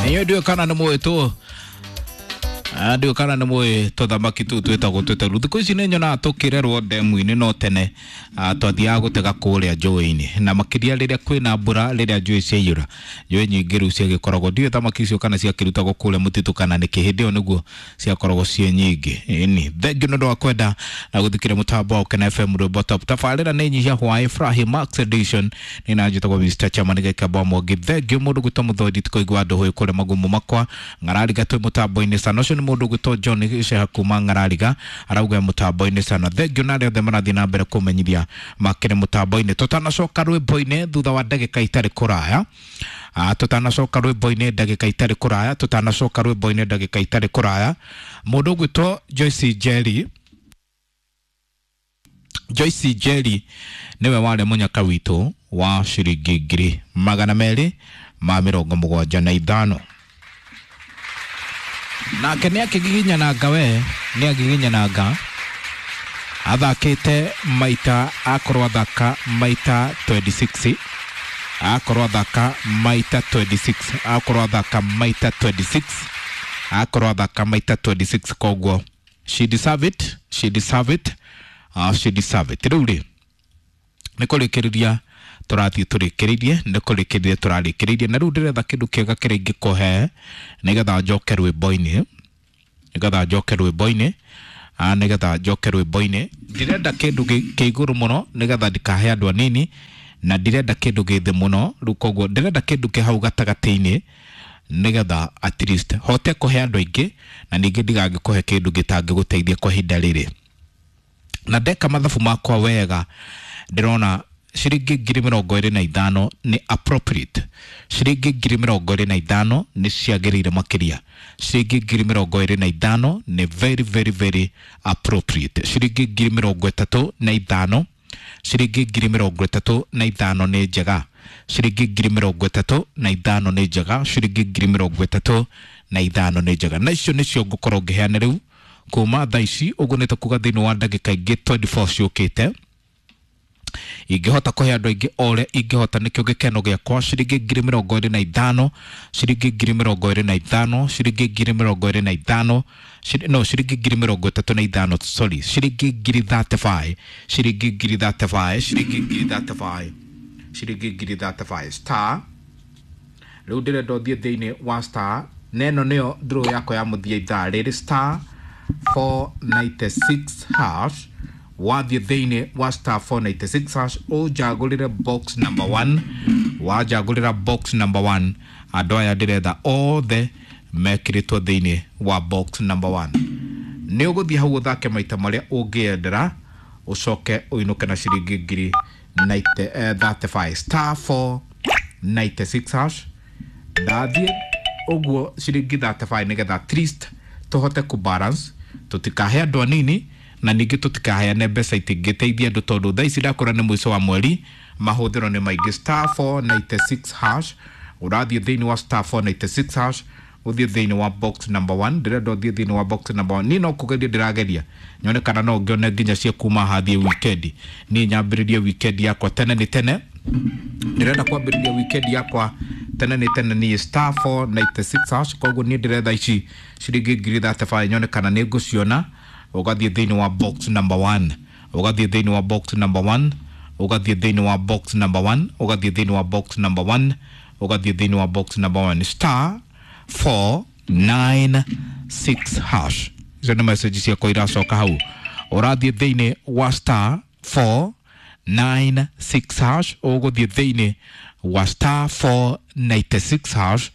Inyuĩ ndiũĩ kana nĩ mũĩ tũ ndiũĩ kana nĩ mũĩ tũthamaki tũu twĩtagwo tũteru. Thikũ ici nĩ nyonaga tũkĩrerwo ndemu-inĩ, no tene twathiaga gũtega kũrĩa njũĩ-inĩ, na makĩria rĩrĩa kwĩna mbura, rĩrĩa njũĩ ciaiyũra, njũĩ nyingĩ rĩu ciagĩkoragwo, ndiũĩ thamaki icio kana ciakĩrutagwo kũrĩa mũtitũ kana nĩkĩ, hĩndĩ ĩyo nĩguo ciakoragwo ciĩ nyingĩ. Ĩni thengiũ nĩ ũndũ wa kwenda na gũthikĩrĩria mũtambo wa Ũkena FM rwĩmbo top. Tabarĩra nĩ nyihia hwaĩ Furahi Max Edition, nĩ na njĩtagwo Mr. Chairman Gĩkamba Mwangi. Thengiũ mũndũ gwĩtwo Mũthondi tũkaigua andũ hũĩ kũrĩa magumu makwa Ng'arariga twĩ mũtambo-inĩ sana. Ũcio nĩ mũndũ gwĩtwo John Gĩceha kuma Ng'arariga arauga mũtambo-inĩ sana. Thengiũ na arĩa othe marathiĩ na mbere kũmenyithia makĩrĩ mũtambo-inĩ. Tũtanacoka rwĩmbo-inĩ thutha wa ndagĩka itarĩ kũraya, tũtanacoka rwĩmbo-inĩ ndagĩka itarĩ kũraya, tũtanacoka rwĩmbo-inĩ ndagĩka itarĩ kũraya, mũndũ ũgwĩtwo Joyce Njeri, Joyce Njeri nĩwe warĩ mũnyaka witũ wa ciringi 275,000. Nake nĩ akĩgiginyananga, we nĩ agiginyananga, athakĩte maita, akorwo athaka maita 26, akorwo athaka maita 26, akorwo athaka maita 26, akorwo athaka maita 26. Koguo she deserve it, she deserve it, she deserve it. Rĩu rĩ nĩ kũrĩkĩrĩria tũrathiĩ tũrĩkĩrĩirie, nĩ kũrĩkĩrĩria tũrarĩkĩrĩirie, na rĩu ndĩretha kĩndũ kĩega kĩrĩa ingĩkũhe nĩgetha njoke rwĩmbo-inĩ, nĩgetha njoke rwĩmbo-inĩ, nĩgetha njoke rwĩmbo-inĩ. Ndirenda kĩndũ kĩ igũrũ mũno nĩgetha ndikahe andũ anini, na ndirenda kĩndũ gĩ thĩ mũno rĩu, koguo ndĩrenda kĩndũ kĩ hau gatagatĩ-inĩ nĩgetha at least hote kũhe andũ aingĩ, na ningĩ ndigangĩkũhe kĩndũ gĩtangĩgũteithia kwa ihinda rĩrĩ. Na ndeka mathabu makwa wega, ndĩrona ciringi 25,000 nĩ appropriate, ciringi 25,000 nĩ ciagĩrĩire makĩria, ciringi 25,000 nĩ very very very appropriate, ciringi 35,000, ciringi 35,000 nĩ njega, ciringi 35,000 nĩ njega, ciringi 35,000 nĩ njega. Na icio nĩcio ngũkorwo ngĩheana rĩu kuma thaa ici ũguo, nĩ ta kuga thĩinĩ wa ndagĩka ingĩ 24 ciũkĩte ingĩhota kũhe andũ aingĩ o ũrĩa ingĩhota, nĩkĩo gĩkeno gĩakwa. Ciringi 25,000, ciringi 25,000, ciringi 25,000, no ciringi 35,000, sorry, ciringi 35,000, ciringi 35,000, ciringi 35,000, ciringi 35,000. Star, rĩu ndĩrenda ũthiĩ thĩinĩ wa star, na ĩno nĩyo draw yakwa ya mũthia ithaa rĩrĩ, star 496 hash. Wathiĩ thĩinĩ wa star 496 hash ũnjagũrĩre box number 1, wanjagũrĩra box number 1, andũ aya ndĩretha othe mekĩrĩtwo thĩinĩ wa box number 1, nĩ ũgũthiĩ hau ũthake maita marĩa ũngĩendera, ũcoke ũinũke na ciringi 35,000. Star 496 hash, ndathiĩ ũguo ciringi 35 nĩgetha at least tũhote kũ balance, tũtikahe andũ anini na ningĩ tũtikaheane mbeca itingĩteithia andũ, tondũ thaa ici ndakora nĩ mũico wa mweri, mahũthĩro nĩ maingĩ. Star 496 hash, ũrathiĩ thĩinĩ wa star 496 hash, ũthiĩ thĩinĩ wa box number 1. Ndĩrenda ũthiĩ thĩinĩ wa box number 1. Niĩ no kũgeria ndĩrageria nyone kana no ngĩone nginya cia kuma hathiĩ weekend. Niĩ nyambĩrĩrie weekend yakwa tene nĩ tene, ndĩrenda kwambĩrĩria weekend yakwa tene nĩ tene niĩ. Star 496 hash, koguo niĩ ndĩretha ici ciringi 35,000 nyone kana nĩ ngũciona. Ũgathiĩ thĩinĩ wa box number 1, ũgathiĩ thĩinĩ wa box number 1, ũgathiĩ thĩinĩ wa box number 1, ũgathiĩ thĩinĩ wa box number 1, ũgathiĩ thĩinĩ wa box number 1, star 496 hash. Icio nĩ message ciakwa iracoka hau. Ũrathiĩ thĩinĩ wa star 496 hash, ũgũthiĩ thĩinĩ wa star 496 hash.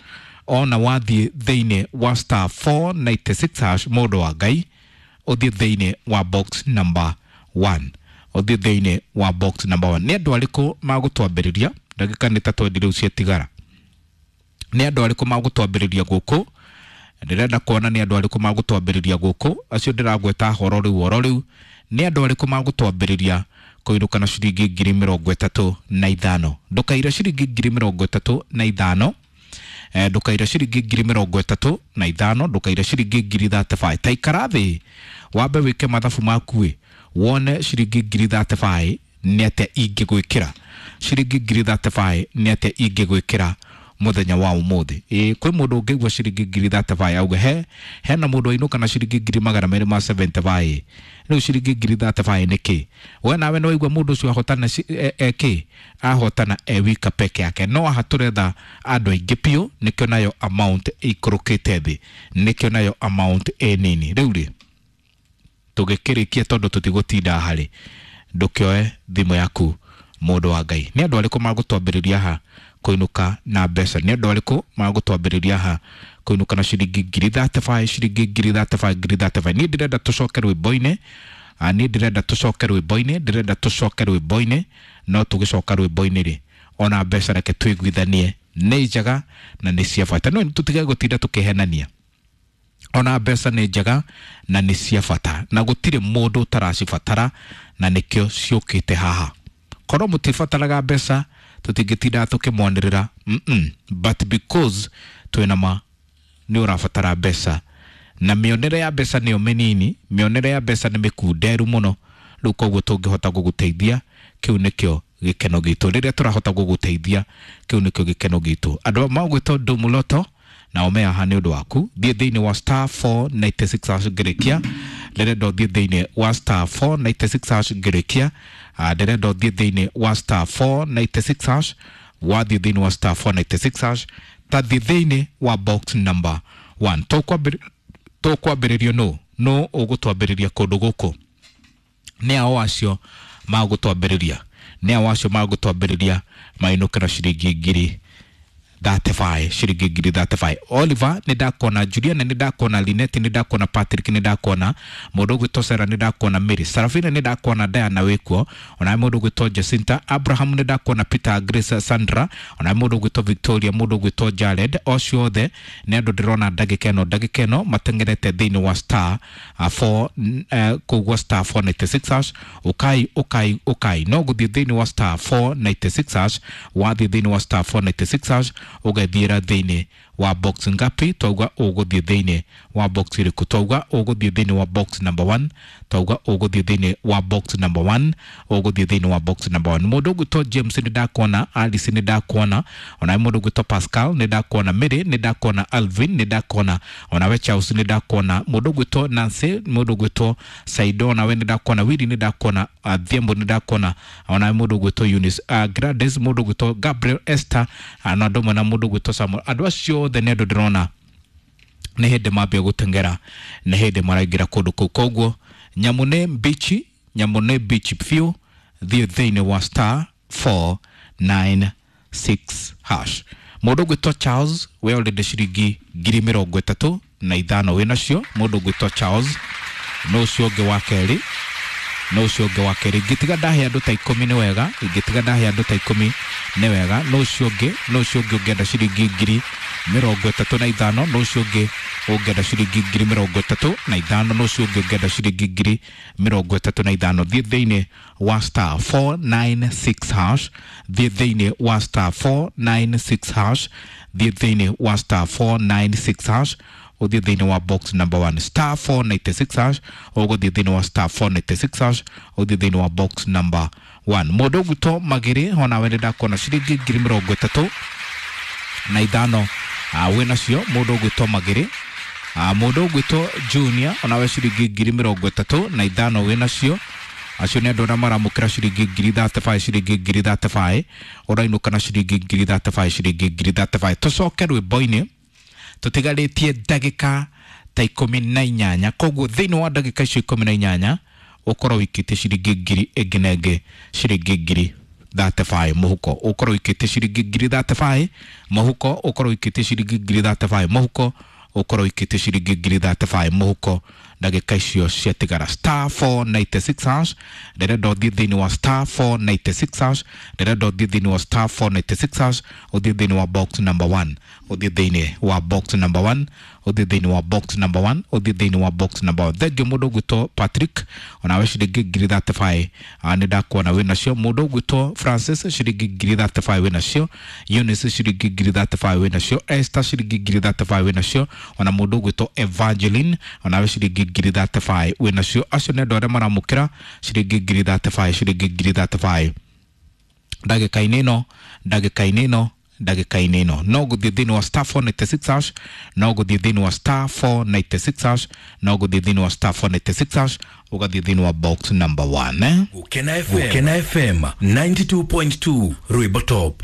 Ona wathiĩ thĩinĩ wa star 496 hash, mũndũ wa Ngai, ũthiĩ thĩinĩ wa box number 1, ũthiĩ thĩinĩ wa box number 1. Nĩ andũ arĩkũ magũtwambĩrĩria? Ndagĩka nĩ ta 20 rĩu ciatigara. Nĩ andũ arĩkũ magũtwambĩrĩria gũkũ? Ndĩrenda kuona nĩ andũ arĩkũ magũtwambĩrĩria gũkũ. Acio ndĩragweta horo rĩu, oro rĩu, nĩ andũ arĩkũ magũtwambĩrĩria kũinũka na ciringi 35,000? Ndũkaire ciringi 35,000, ndũkaire ciringi 35,000, ndũkaire ciringi 35,000. Ta ikara thĩ wambe wĩke mathabu maku ĩ, wone ciringi 35,000 nĩ atĩa ingĩgwĩkĩra, ciringi 35,000 nĩ atĩa ingĩgwĩkĩra. Muthenya wa umuthi kwi mundu ungigua ciringi ngiri 35 auge he hena mundu ainuka na ciringi ngiri magana meri ma 75 riu ciringi ngiri 35 niki we nawe no waigua mundu ucio ahotana ki ahotana e wika peke yake. No aha turetha andu aingi piu, nikio nayo amount ikurukite thi, nikio nayo amount e nini. Riu ri tugikirikia tondu tutigutinda hari, ndukioe thimu yaku mundu wa Ngai. Ni andu ariku magutwambiriria ha kuinuka na mbeca? Ni andu ariku magutwambiriria ha kuinuka na ciringi ngiri 35, ciringi ngiri 35, ngiri 35? Ni ndirenda tucoke rwimbo-ini, ni ndirenda tucoke rwimbo-ini, ndirenda tucoke rwimbo-ini. No tugicoka rwimbo-ini ri, ona mbeca reke twiguithanie nĩ njega na nĩ cia bata. No tutige gutinda tukihenania, ona mbeca nĩ njega na nĩ cia bata na gũtirĩ mũndũ ũtaracibatara, na nĩkĩo ciũkĩte haha. Korwo mũtibataraga mbeca tũtingĩtinda tũkĩmwanĩrĩra, but because twĩna ma nĩ ũrabatara mbeca, na mĩonere ya mbeca nĩyo mĩnini, mĩonere ya mbeca nĩ mĩkunderu mũno. Rĩu koguo tũngĩhota gũgũteithia, kĩu nĩkĩo gĩkeno gitũ. Rĩrĩa tũrahota gũgũteithia, kĩu nĩkĩo gĩkeno gitũ. Andũ magwĩtwo Ndumuloto na ome haha nĩ ũndũ waku. Thiĩ thĩinĩ wa star 496 hash ngĩrĩkia. Ndĩrenda ũthiĩ thĩinĩ wa star 496 hash ngĩrĩkia. Ndĩrenda ũthiĩ thĩinĩ wa star 496 hash. Wathiĩ thĩinĩ wa star 496 hash, tathiĩ thĩinĩ wa box number 1. Tũkwambĩrĩrio nũ nũ ũgũtwambĩrĩria kũndũ gũkũ? Nĩ ao acio magũtwambĩrĩria, nĩ ao acio magũtwambĩrĩria mainũke na ciringi ngiri 35, ciringi ngiri 35. Oliver nĩ ndakuona, Juliana nĩ ndakuona, Linet nĩ ndakuona, Patrick nĩ ndakuona, mũndũ ũgwĩtwo Sarah nĩ ndakuona, Mary Sarafina nĩ ndakuona, Diana wĩkuo, ona mũndũ ũgwĩtwo Jacinta, Abraham nĩ ndakuona, Peter, Grace, Sandra, ona mũndũ ũgwĩtwo Victoria, mũndũ ũgwĩtwo Jared. Ocio othe nĩ andũ ndĩrona ndagĩka ĩno, ndagĩka ĩno mateng'erete thĩinĩ wa star 4 koguo star 496 hash. Ukai ukai ukai, no gũthiĩ thĩinĩ wa star 496 hash. Wathiĩ thĩinĩ wa star 496 hash, ũgathiĩra thĩinĩ wa box ngapi? Twauga ũgũthiĩ thĩinĩ wa box ĩrĩkũ? Twauga ũgũthiĩ thĩinĩ wa box number 1. Twauga ũgũthiĩ thĩinĩ wa box number 1. Ũgũthiĩ thĩinĩ wa box number 1. Mũndũ ũgwĩtwo James nĩ ndakuona, Alice nĩ ndakuona, ona mũndũ ũgwĩtwo Pascal nĩ ndakuona, Mary nĩ ndakuona, Alvin nĩ ndakuona, onawe Charles nĩ ndakuona, mũndũ ũgwĩtwo Nancy, mũndũ ũgwĩtwo Saido onawe nĩ ndakuona, Willy nĩ ndakuona, Thiembo nĩ ndakuona, onawe mũndũ ũgwĩtwo Eunice, Gladys, mũndũ ũgwĩtwo Gabriel, Esther, na andũ amwe na mũndũ ũgwĩtwo Samuel. Andũ acio othe nĩ andũ ndĩrona nĩ hĩndĩ mambia gũteng'era, nĩ hĩndĩ maraingĩra kũndũ kũu. Koguo nyamũ nĩ mbichi, nyamũ nĩ mbichi biũ. Thiĩ thĩinĩ wa star 496 hash. Mũndũ ũgwĩtwo Charles, we already ciringi ngiri mĩrongo ĩtatũ na ithano wĩ nacio. Mũndũ ũgwĩtwo Charles, no ũcio ũngĩ wa kerĩ, no ũcio ũngĩ wa kerĩ. Ingĩtiga ndahe andũ ta ikũmi nĩ wega, ingĩtiga ndahe andũ ta ikũmi nĩ wega. No ũcio ũngĩ, no ũcio ũngĩ ũngĩenda ciringi ngiri mĩrongo ĩtatũ na ithano. No ũcio ũngĩ ũngĩenda ciringi ngiri mĩrongo ĩtatũ na ithano. No ũcio ũngĩ ũngĩenda ciringi ngiri mĩrongo ĩtatũ na ithano. Thiĩ thĩinĩ wa star 496 hash. Thiĩ thĩinĩ wa star 496 hash. Thiĩ thĩinĩ wa star 496 hash. Ũthiĩ thĩinĩ wa box number 1, star 496 hash. Ũgũthiĩ thĩinĩ wa star 496 hash, ũthiĩ thĩinĩ wa box number 1. Mũndũ ũgwĩtwo Magĩrĩ, onawe nĩ ndakuona ciringi ngiri mĩrongo ĩtatũ na ithano wĩ nacio. Mũndũ ũgwĩtwo Magĩrĩ, mũndũ ũgwĩtwo Junior, onawe ciringi ngiri mĩrongo ĩtatũ na ithano wĩ nacio. Acio nĩ andũ arĩa maramũkĩra ciringi ngiri 35, ciringi ngiri 35. Ũrainũka na ciringi ngiri 35, ciringi ngiri 35. Tũcoke rwĩmbo-inĩ, tũtigarĩtie ndagĩka ta 18. Koguo thĩinĩ wa ndagĩka icio 18 ũkorwo wĩikĩtie ciringi ngiri ĩngĩ na ĩngĩ, ciringi ngiri 35 mũhuko. Ũkorwo wĩikĩtie ciringi ngiri 35 mũhuko. Ũkorwo wĩikĩtie ciringi ngiri 35 mũhuko. Ũkorwo wĩikĩtie ciringi ngiri 35 mũhuko ndagĩka icio ciatigara. Star 496 hash. Ndĩrenda ũthiĩ thĩinĩ wa star 496 hash. Ndĩrenda ũthiĩ thĩinĩ wa star 496 hash, ũthiĩ thĩinĩ wa box number 1. Ũthiĩ thĩinĩ wa box number 1. Ũthiĩ thĩinĩ wa box number 1. Ũthiĩ thĩinĩ wa box number 1. Thengiũ mũndũ ũgwĩtwo Patrick, onawe ciringi ngiri 35 nĩ ndakuona wĩ nacio. Mũndũ ũgwĩtwo Francis, ciringi ngiri 35 wĩ nacio. Eunice, ciringi ngiri 35 wĩ nacio. Esther, ciringi ngiri 35 wĩ nacio. Ona mũndũ ũgwĩtwo Evangeline, onawe ciringi ngiri 35 wĩ nacio. Acio nĩ andũ arĩa maramũkĩra ciringi ngiri 35, ciringi ngiri 35 ndagĩka-inĩ ĩno, ndagĩka-inĩ ĩno. ndagĩka-inĩ ĩno. No gũthiĩ thĩinĩ wa star 496 hash, no gũthiĩ thĩinĩ wa star 496 hash, no gũthiĩ thĩinĩ wa star 496 hash, ũgathiĩ thĩinĩ wa box number 1, eh? Gukena FM, Gukena FM 92.2 Rwimbo Top.